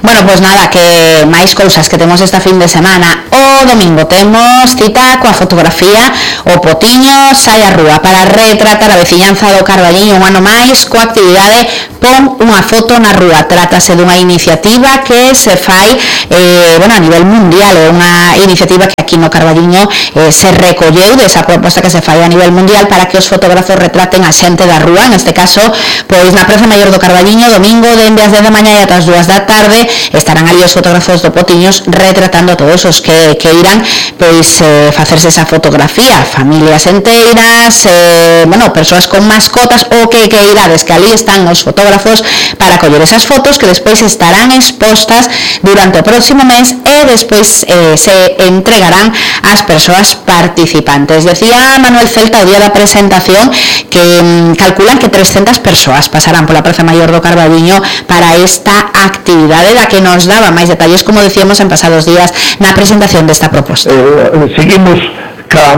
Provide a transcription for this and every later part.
Bueno, pois nada, que máis cousas que temos esta fin de semana. O domingo temos cita coa fotografía O Potiño sai á rúa para retratar a veciñanza do Carballiño un ano máis coa actividade Pon unha foto na rúa. Trátase dunha iniciativa que se fai a nivel mundial, é unha iniciativa que aquí no Carballiño se recolleu desa proposta que se fai a nivel mundial para que os fotógrafos retraten a xente da rúa. Neste caso, pois na Praza Maior do Carballiño, domingo dende as 10 da mañá e ata as 2 da tarde estarán ali os fotógrafos do Potiños retratando a todos os que irán pois facerse esa fotografía, familias enteiras, persoas con mascotas ou que irades, que ali están os fotógrafos para coller esas fotos que despois estarán expostas durante o próximo mes e despois se entregarán ás persoas participantes. Decía Manuel Celta o día da presentación que calculan que 300 persoas pasarán pola Praza Maior do Carballiño para esta actividade da que nos daba máis detalles, como decíamos en pasados días na presentación desta proposta. Seguimos ca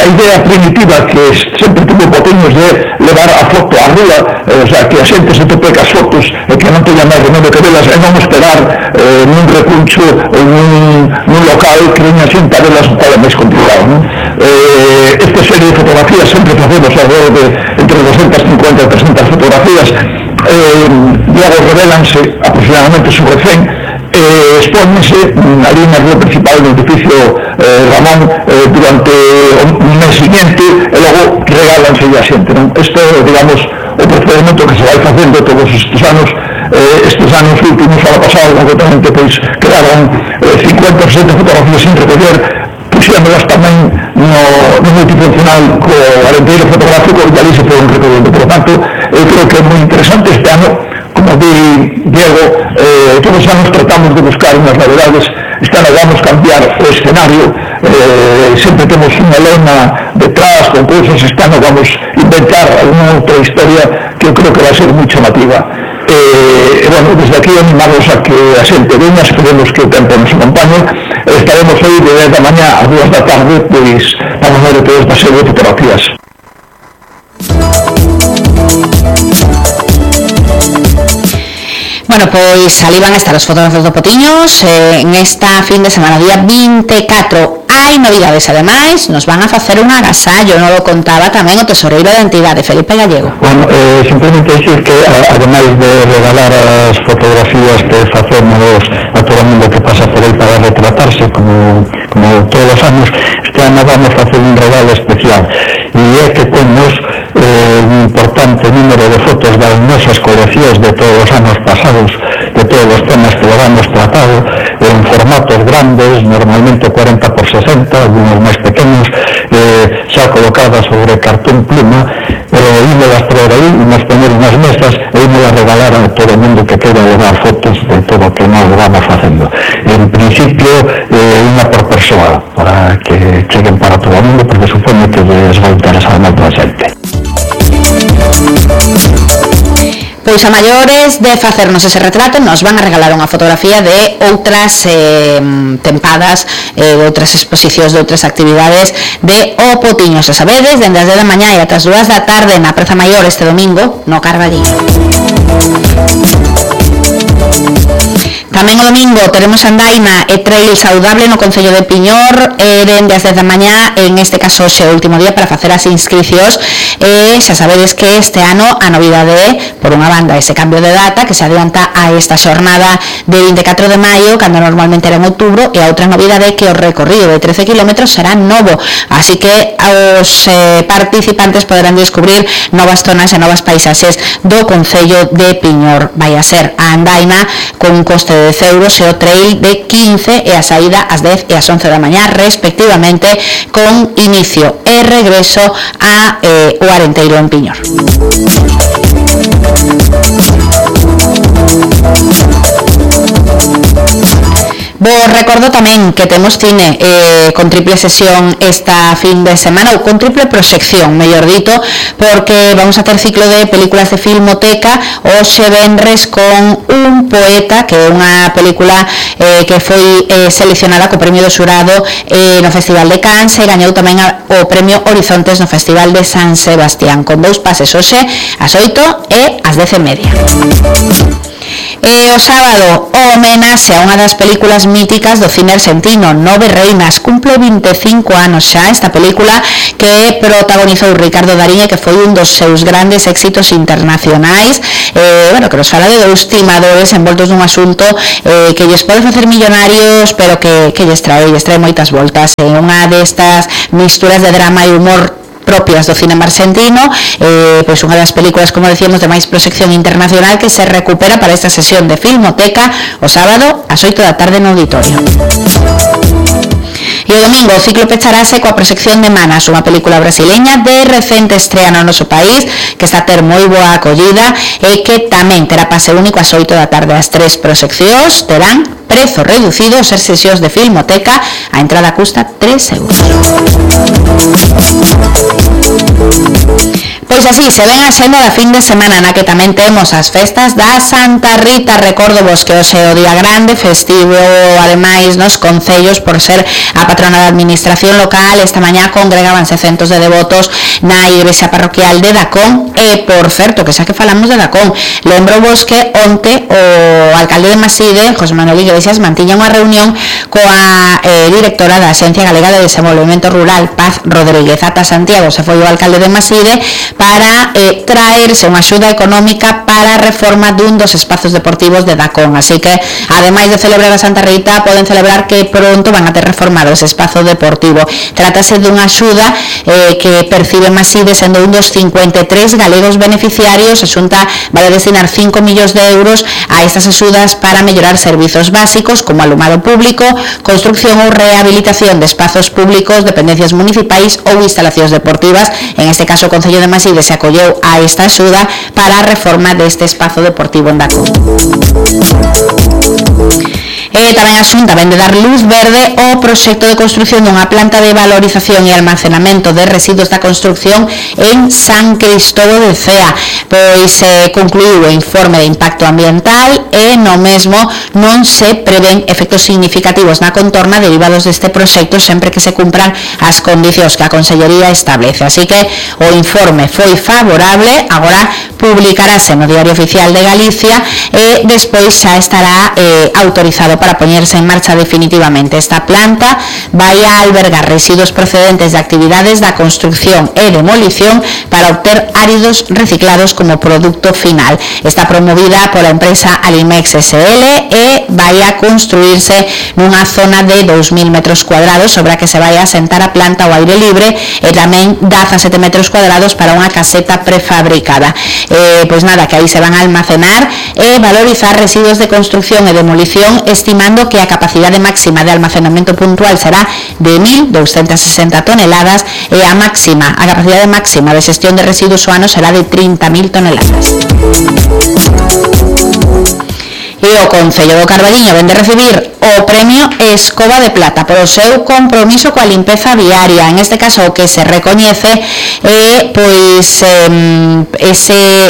idea primitiva que sempre tuvo Potiños de levar a foto á rúa, que a xente se tope cas fotos e que non teña máis remedio que velas e non esperar nun recuncho ou nun local que veña xente a velas, é máis complicado, non? Esta serie de fotografías sempre facemos alrededor de entre 250 e 300 fotografías, logo revelanse aproximadamente sobre 100, expónense ali na rúa principal do edificio Ramón durante un mes seguinte e logo regálanse a xente, non? Isto é, digamos, o procedimento que se vai facendo todos estes anos. Estes anos últimos, ano pasado, concretamente, pois quedaron 50 ou 60 fotografías sin recoller, puxémolas tamén no multifuncional co arenteiro fotográfico e ali se foron recollendo. Por lo tanto, eu creo que é moi interesante este ano, como di Diego, todos os anos tratamos de buscar unhas novedades. Este ano vamos cambiar o escenario, sempre temos unha lona detrás con cousas. Este ano vamos inventar alguna outra historia que eu creo que vai ser moi chamativa. Desde aquí animamos a que a xente veña, esperemos que o tempo nos acompañe. Estaremos aí de 10 da mañá a 2 da tarde, pois vamos ver toda esta serie de fotografías. Bueno, pois ali van a estar os fotógrafos do Potiños en esta fin de semana, día 24. Hai novidades, ademais, nos van a facer un agasallo, non lo contaba tamén o tesoreiro da entidade, Felipe Gallego. Bueno, simplemente decir que, ademais de regalar as fotografías que facemos a todo o mundo que pasa por aí para retratarse, como todos os anos, este ano vamos facer un regalo especial, e é que temos un importante número de fotos das nosas coleccións de todos os anos pasados, de todos os temas que levamos tratado, en formatos grandes, normalmente 40 por 60, algunos máis pequenos, xa colocadas sobre cartón pluma, ímolas traer aí, nos poner nas mesas e ímolas regalar a todo o mundo que queira levar fotos de todo o que nós vamos facendo. En principio, unha por persoa, para que cheguen para todo o mundo, porque supone que les vai interesar moito a xente. Pois a maiores de facernos ese retrato nos van a regalar unha fotografía de outras tempadas, de outras exposicións, de outras actividades de O Potiño. Se sabedes, dende as 10 da mañá e ata as 2 da tarde na Praza Maior este domingo no Carballiño. Tamén o domingo teremos andaina e trail saudable no Concello de Piñor, dende as 10 da mañá, en este caso xe o último día para facer as inscricións. Xa sabedes que este ano a novidade é, por unha banda, ese cambio de data que se adianta a esta xornada de 24 de maio, cando normalmente era en outubro, e a outra novidade é que o recorrido de 13 km será novo, así que os participantes poderán descubrir novas zonas e novas paisaxes do Concello de Piñor. Vai a ser a andaina con un coste de 10 euros e o trail de 15 e a saída ás 10 e ás 11 da mañá respectivamente, con inicio e regreso a o Arenteiro en Piñor. Vos recordo tamén que temos cine con triple sesión esta fin de semana, ou con triple proxección, mellor dito, porque vamos a ter ciclo de películas de Filmoteca hoxe venres con Un poeta, que é unha película que foi seleccionada co premio do xurado no Festival de Cannes e gañou tamén o premio Horizontes no Festival de San Sebastián, con 2 pases hoxe ás 8 e ás 10:30. O sábado, o homenaxe a unha das películas míticas do cine argentino, Nove Reinas. Cumple 25 anos xa esta película que protagonizou Ricardo Darín e que foi un dos seus grandes éxitos internacionais, que nos fala de dous timadores envoltos nun asunto que lles pode facer millonarios, pero que lles trae moitas voltas. Unha destas misturas de drama e humor propias do cinema argentino, pois unha das películas, como decíamos, de máis proxección internacional que se recupera para esta sesión de Filmoteca o sábado ás 8 da tarde no auditorio. E o domingo o ciclo pecharase coa proxección de Manas, unha película brasileña de recente estrea no noso país, que está a ter moi boa acollida e que tamén terá pase único ás 8 da tarde. As 3 proxeccións terán prezo reducido, ser sesións de Filmoteca, a entrada custa 3 euros. Pois así se ven a xenda da fin de semana, na que tamén temos as festas da Santa Rita. Recordo vos que hoxe é o día grande, festivo ademais nos concellos por ser a patrona da administración local. Esta mañá congregábanse centos de devotos na igrexa parroquial de Dacón e, por certo, que xa que falamos de Dacón, lembro vos que onte o alcalde de Maside, José Manuel Iglesias, mantiña unha reunión coa directora da Axencia Galega de Desenvolvemento Rural, Paz Rodríguez. Ata Santiago se foi o alcalde de Maside para traerse unha axuda económica para a reforma dun dos espazos deportivos de Dacón. Así que, ademais de celebrar a Santa Rita, poden celebrar que pronto van a ter reformado ese espazo deportivo. Trátase dunha axuda que percibe Maside sendo un dos 53 galegos beneficiarios. A Xunta vai destinar 5 millóns de euros a estas axudas para mellorar servizos básicos como alumado público, construcción ou rehabilitación de espazos públicos, dependencias municipais ou instalacións deportivas. En este caso, o Concello de Maside se acolleu a esta axuda para a reforma deste espazo deportivo en Dacón. Tamén a Xunta vende dar luz verde ao proxecto de construcción dunha planta de valorización e almacenamento de residuos da construcción en San Cristóbal de Cea. Pois concluiu o informe de impacto ambiental e no mesmo non se prevén efectos significativos na contorna derivados deste proxecto sempre que se cumpran as condicións que a Consellería establece. Así que o informe foi favorable, agora publicarase no Diario Oficial de Galicia e despois xa estará autorizado para poñerse en marcha definitivamente. Esta planta vai a albergar residuos procedentes de actividades da construcción e demolición para obter áridos reciclados como producto final. Está promovida pola empresa Alimex SL e vai a construirse nunha zona de 2.000 metros cuadrados sobre a que se vai a asentar a planta ao aire libre e tamén 17 metros cuadrados para unha caseta prefabricada. Pois nada, que aí se van a almacenar e valorizar residuos de construcción e demolición, estimando que a capacidade máxima de almacenamento puntual será de 1.260 toneladas e a capacidade máxima de xestión de residuos ao ano será de 30.000 toneladas. E o Concello do Carballiño vende recibir o premio Escoba de Plata por o seu compromiso coa limpeza viaria. En este caso, o que se recoñece é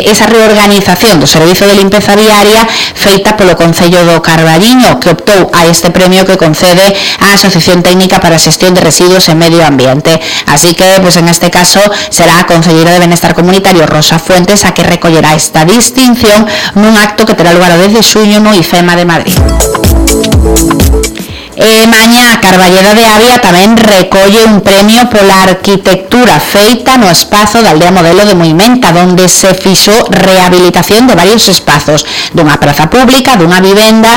esa reorganización do servizo de limpeza viaria feita polo Concello do Carballiño, que optou a este premio que concede a Asociación Técnica para a Xestión de Residuos e Medio Ambiente. Así que, en este caso, será a Concelleira de Benestar Comunitario, Rosa Fuentes, a que recollerá esta distinción nun acto que terá lugar o 10 de xuño no IFEMA de Madrid. Mañá Carballeda de Avia tamén recolle un premio pola arquitectura feita no espazo da Aldea Modelo de Moimenta, onde se fixo rehabilitación de varios espazos, dunha praza pública, dunha vivenda,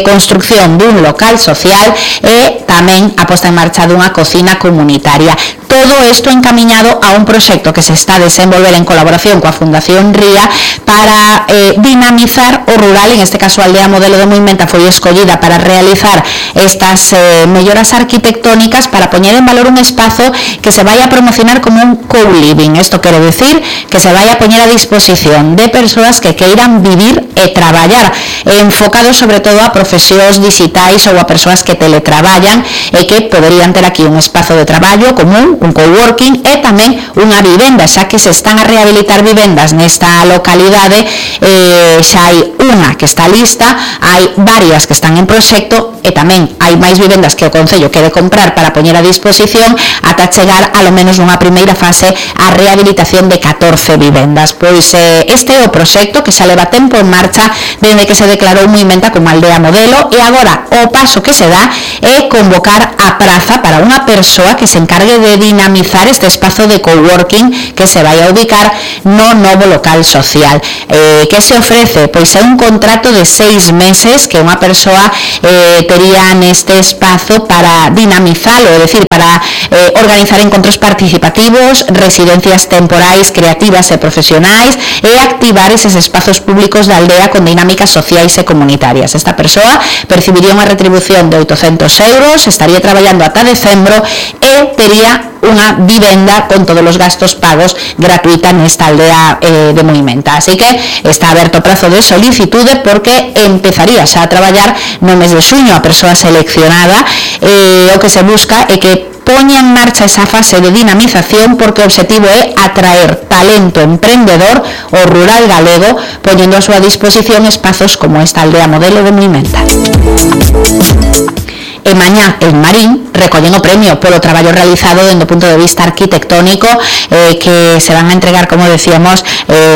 construcción dun local social e tamén a posta en marcha dunha cocina comunitaria. Todo isto encamiñado a un proxecto que se está a desenvolver en colaboración coa Fundación Ría para dinamizar o rural. En este caso, a Aldea Modelo de Moimenta foi escollida para realizar estas melloras arquitectónicas para poñer en valor un espazo que se vai a promocionar como un co-living. Isto quere decir que se vai a poñer a disposición de persoas que queiran vivir e traballar, enfocado sobre todo a profesións digitais ou a persoas que teletraballan e que poderían ter aquí un espazo de traballo común, un coworking e tamén unha vivenda, xa que se están a rehabilitar vivendas nesta localidade. Xa hai unha que está lista, hai varias que están en proxecto e tamén hai máis vivendas que o Concello quere comprar para poñer a disposición ata chegar a lo menos nunha primeira fase a rehabilitación de 14 vivendas. Pois este é o proxecto que xa leva tempo en marcha dende que se declarou Muimenta como aldea modelo, e agora o paso que se dá é convocar a praza para unha persoa que se encargue de dinamizar este espazo de coworking que se vai a ubicar no novo local social. Que se ofrece? Pois é un contrato de 6 meses que unha persoa tería neste espazo para dinamizalo, é dicir, para organizar encontros participativos, residencias temporais, creativas e profesionais, e activar eses espazos públicos da aldea con dinámicas sociais e comunitarias. Esta persoa percibiría unha retribución de 800 euros, estaría traballando ata decembro e tería unha vivenda con todos os gastos pagos gratuita nesta aldea de Muimenta. Así que está aberto o prazo de solicitude porque empezaría xa a traballar no mes de xuño a persoa seleccionada. O que se busca é que poña en marcha esa fase de dinamización, porque o objetivo é atraer talento emprendedor ao rural galego, poñendo a súa disposición espazos como esta aldea modelo de Muimenta. E mañá en Marín recollen o premio polo traballo realizado dende o punto de vista arquitectónico, que se van a entregar, como decíamos,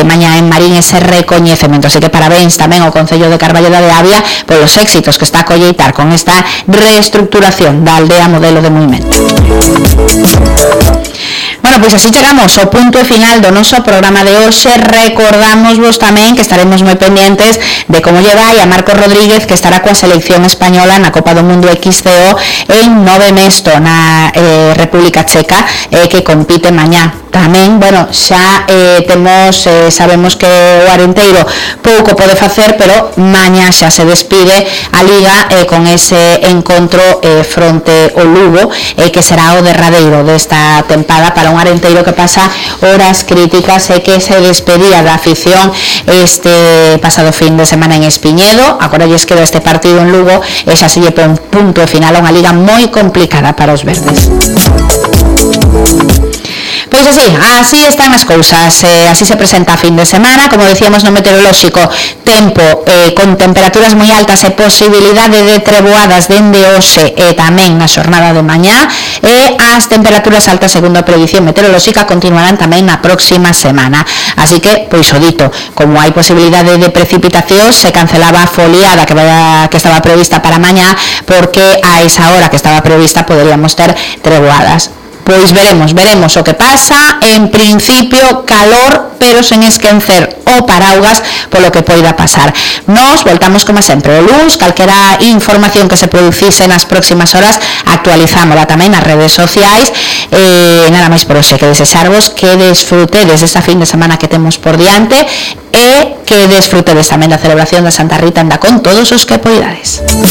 mañá en Marín ese recoñecemento. Así que parabéns tamén ao Concello de Carballo da Avia polos éxitos que está a colleitar con esta reestructuración da aldea modelo de Muimenta. Bueno, pois así chegamos ao punto final do noso programa de hoxe. Recordamosvos tamén que estaremos moi pendientes de como lle vai a Marcos Rodríguez, que estará coa selección española na Copa do Mundo XCO en Nove Mesto, na República Checa, que compite mañá. Tamén, bueno, xa sabemos que o Arenteiro pouco pode facer, pero mañá xa se despide a Liga con ese encontro fronte ao Lugo, que será o derradeiro desta tempada para un Arenteiro que pasa horas críticas e que se despedía da afición este pasado fin de semana en Espiñedo. Agora lles queda este partido en Lugo e xa se lle pon punto final a unha liga moi complicada para os verdes. Pois así están as cousas, así se presenta a fin de semana. Como decíamos no meteorolóxico, tempo con temperaturas moi altas e posibilidade de treboadas dende hoxe e tamén na xornada de mañá, e as temperaturas altas, segundo a predición meteorolóxica, continuarán tamén na próxima semana. Así que, pois o dito, como hai posibilidade de precipitacións, se cancelaba a foliada que estaba prevista para mañá, porque a esa hora que estaba prevista poderíamos ter treboadas. Pois veremos o que pasa. En principio calor, pero sen esquecer o paraugas polo que poida pasar. Nos voltamos como sempre o luns. Calquera información que se producise nas próximas horas actualizámola tamén nas redes sociais. Nada máis por hoxe, que desexarvos que desfrutedes esta fin de semana que temos por diante e que desfrutedes tamén da celebración da Santa Rita anda con todos os que poidades.